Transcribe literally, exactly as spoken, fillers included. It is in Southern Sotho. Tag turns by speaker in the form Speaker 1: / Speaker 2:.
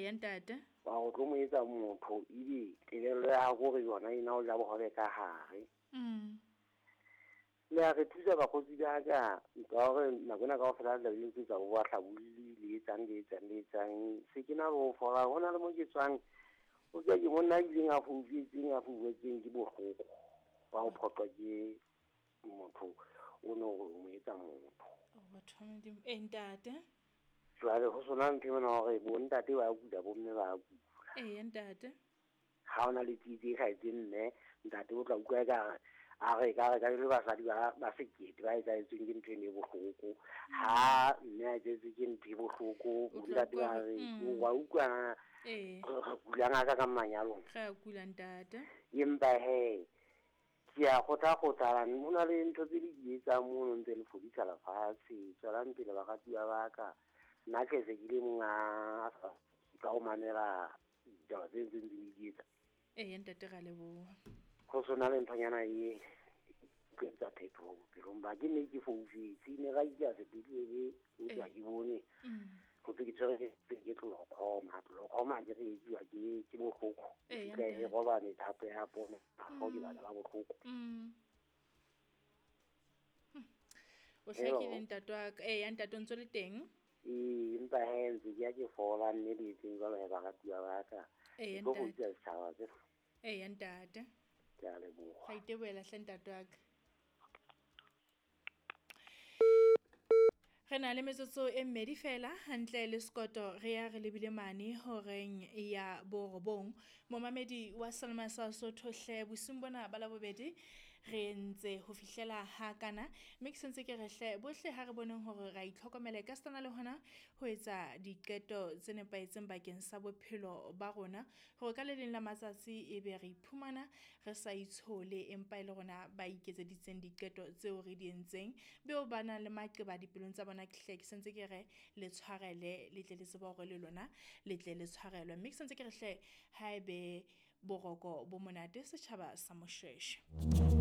Speaker 1: Eya ntate.
Speaker 2: Wa go tlo mo etsa motho ebe kelello ya hao kore yona ena o ja bohobe ka hare.
Speaker 1: Mm.
Speaker 2: Le a re thusa bakgotsi ba ka ka hore nako ena kaofela le tlabe le ntse tsa bo bahlabolli le etsang le etsang le etsang. Se ke na le ho fola hona le mo ke tswang o tswa ke monna a ileng a foufetseng a foufetseng ke bohloko ba ho phoqwa ke motho o no o mo etsa motho.
Speaker 1: Oh, batho ba Modimo. Eh ntate.
Speaker 2: Jwale ho sona ntho ena hore bo ntate ba kula bo mme ba kula.
Speaker 1: Eya ntate.
Speaker 2: Ha ona le tsietsi e hlahetseng mme ntate o tla utlwa ekare a re ka re ka le basadi ba ba sekete ba etsahetsweng ke ntho eno e bohloko. Ha mme a etsahetswe ke ntho e bohloko
Speaker 1: O
Speaker 2: bo
Speaker 1: tla
Speaker 2: ntate ba
Speaker 1: utlwa
Speaker 2: re
Speaker 1: mm.
Speaker 2: wa utlwa na
Speaker 1: Ee.
Speaker 2: re kulang ha ka ka manyalong.
Speaker 1: Re a kula ntate.
Speaker 2: Empa hee ke a kgothakgothala ho na le ntho tse le di etsang mono ntse le fodisa lefatshe. Tswelang pele baratuwa ba ka. Nna tle se ke le mong a sa ka ho mamela ditaba tse ntseng le di etsa.
Speaker 1: Eya ntate ra leboha.
Speaker 2: Ho sona le nthonyana e ke etsa phetoho bophelong ba ke ne ke foufetse ne ra ile sepetlele empa ke bone
Speaker 1: Mm.
Speaker 2: ho thwe ke tshwere ke ke glaucoma. Glaucoma ke re e etsuwa ke ke bohloko.
Speaker 1: Eya
Speaker 2: E fihla e
Speaker 1: ntate.
Speaker 2: roba methapo ya pono ha ke bana ba bohloko.
Speaker 1: Mm. Hmm. O hlakile ntate wa ka. Eya ntate o ntso le teng?
Speaker 2: Ee, empa hee ntse ke ya ke fola mme le etseng jwalo hee baratuwa ba ka.
Speaker 1: Eya
Speaker 2: Ke tlo
Speaker 1: ntate.
Speaker 2: fodisa setjhaba se.
Speaker 1: Eya ntate.
Speaker 2: Ke a leboha.
Speaker 1: Ra itebohela hle ntate wa ka. Re na le metsotso e mmedi fela hantle le sekoto re ya re lebile mane horeng ya borobong. Momamedi wa Selma sa Sotho hle bosiung bona ba Labobedi re ntse ho fihlela ha kana mme ke sentse ke re hle bohle ha re boneng hore ra itlhokomela ka sena le hona ho etsa diqeto tse nepahetseng bakeng sa bophelo ba rona hore ka le leng la matsatsi ebe re iphumana re sa itshole empa e le rona ba iketseditseng diqeto tseo re di entseng beo ba nang le maqeba dipelong tsa bona ke hle ke sentse ke re le tshwarele le tle le tsebe hore le lona le tle le tshwarelwe mme ke sentse ke re hle haebe boroko bo monate setjhaba sa Moshweshwe.